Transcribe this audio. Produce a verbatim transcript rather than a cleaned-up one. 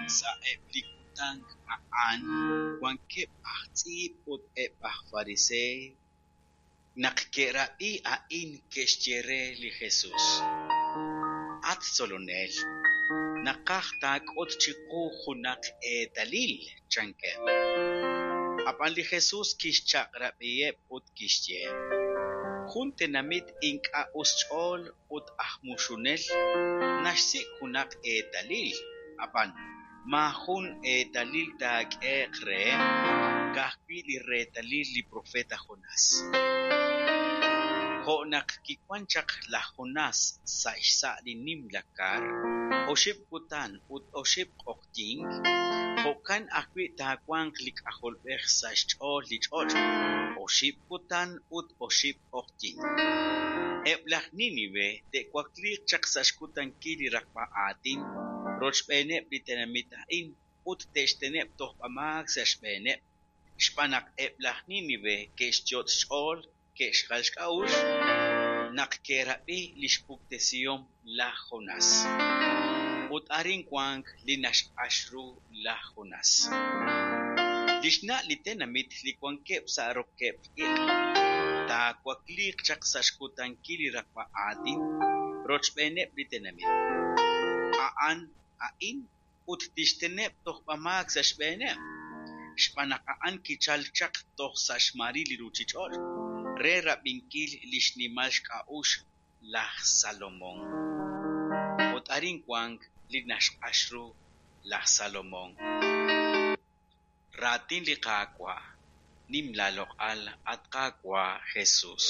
Sa'eb' li kutan a'an wankeb' aj tz'iib' ut eb' aj pariseey, naq ke'rab'i a'in, ke'xye re li Jesus: At Tzolonel, naqaj taak'ut chiqu junaq eetalil, chankeb'. Ab'an li Jesus kixchaq'rab'iheb' ut kixye: Jun tenamit ink'a' us xch'ool ut aj muxunel naxsik' junaq eetalil, ab'an maajun eetalil taak'ehe'q reheb', ka'ajwi' li reetalil li propeet Jonás. Jo' naq kiwank chaq laj Jonás sa' xsa' li nimla kar oxib' kutan ut oxib' q'oqyink, jo'kan ajwi' taawanq li K'ajolb'ej sa' xch'ool li ch'och' oxib' kutan ut oxib' q'oqyink. Eb' laj Nínive te'wakliiq chaq sa' xkutankil li raqb'a aatin rochb'eeneb' li tenamit a'in ut te'xteneb' tojb'amaak sa' xb'eeneb', xb'aan naq eb' laj Nínive ke'xyot' xch'ool ke'xjal xk'a'uxl naq ke'rab'i li xpuktesihom laj Jonás. Ut arin wank li naxq'ax ru laj Jonás. Li xna' li tenamit li wankeb' sa' rokeb'l iq' taawakliiq chaq sa' xkutankil li raqb'a aatin rochb'eeneb' li tenamit a'an a'in ut tixteneb' tojb'amaak sa' xb'eeneb', xb'aan naq a'an kichalk chaq toj sa' xmaril li ruuchich'och' re rab'inkil li xnimal xk'a'uxl laj Salomón. Ut arin wank li naxq'ax ru laj Salomón. Raatin li Qaawa'. Nim laaloq'al, at Qaawa' Jesus.